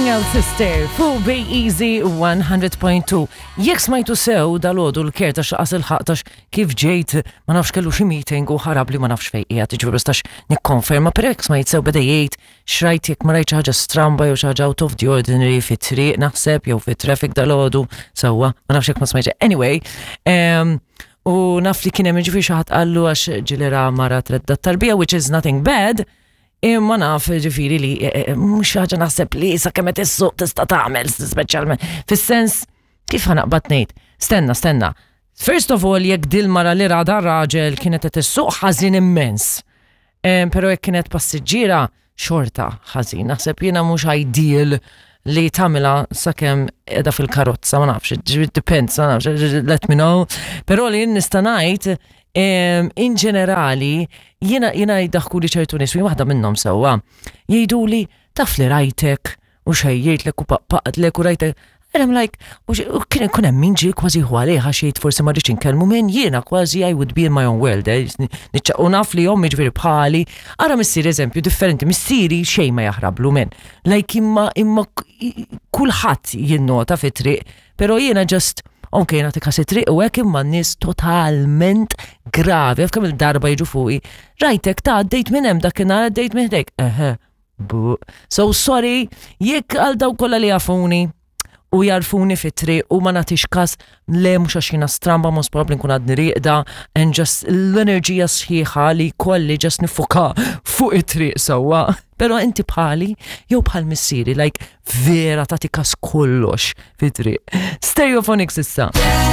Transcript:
Coming Out Sister fuq Bay Easy 100.2. Jekk smajtu sew dal-għodu l-ker ta' xaqas il-ħaq kif ġejt ma nafx kellu xi meeting u ħarab li ma nafx fejn qiegħed, jiġifieri ma nistax nikkonferma, però jekk smajt sew beda jgħid x'rajt jekk ma rajt xi ħaġa stramba jew xi ħaġa out of the ordinary fit-triq naħseb jew fit-traffic dal-għodu sewwa, ma nafx jekk ma smajtx. Anyway, u naf li kien hemm jiġifieri xi ħadd qallu għax ġieli ra mara tredda t-tarbija which is nothing bad, imma naf ġifieri li eh, eh, mhux ħaġa naħseb li sakemm qed issuq tista' tagħmel speċjalment fis-sens kif ħanaqbad ngħid. Stenna, stenna. First of all, jekk dil-mara li ra dar raġel kienet qed issuq ħażin immens. Pero jekk kienet passiġġiera xorta ħażin. Naħseb jiena mhux ideal li tagħmilha sakemm qiegħda fil-karozza, ma nafx, it depends, ma nafx, let me know. Però li jien nista' ngħid in ġenerali jiena jiena jdaħku li ċertu nies u waħda minnhom sewwa. Jgħiduli taf li rajtek u xejjejtlek u paqqaqtlek u rajtek. And I'm like, u kien ikun hemm min ġie kważi hu għalih għax jgħid forsi ma rridx inkellmu minn jiena kważi I would be in my own world. Eh, u naf li ommi ġifieri bħali, ara missieri eżempju differenti, missieri xejn ma jaħrablu minn. Like imma imma kulħadd jinnota fit-triq, però jiena just Ok, nagħti kas it-triq u hekk imma n-nies totalment gravi, għaf kemm il-darba jiġu fuqi. Rajtek ta' għaddejt minn hemm dakinhar għaddejt minn ħdejk. Eħe, Bu. So sorry, jekk għal daw kollha li jafuni u jarfuni fit-triq u ma nagħtix kas le mhux għax jiena stramba most probably nkun għadni rieqda and just l-enerġija sħiħa li kolli just nifoka fuq it-triq sewwa. Però inti bħali jew bħal missieri like vera tagħti kas kollox fit-triq. Stereophonics issa.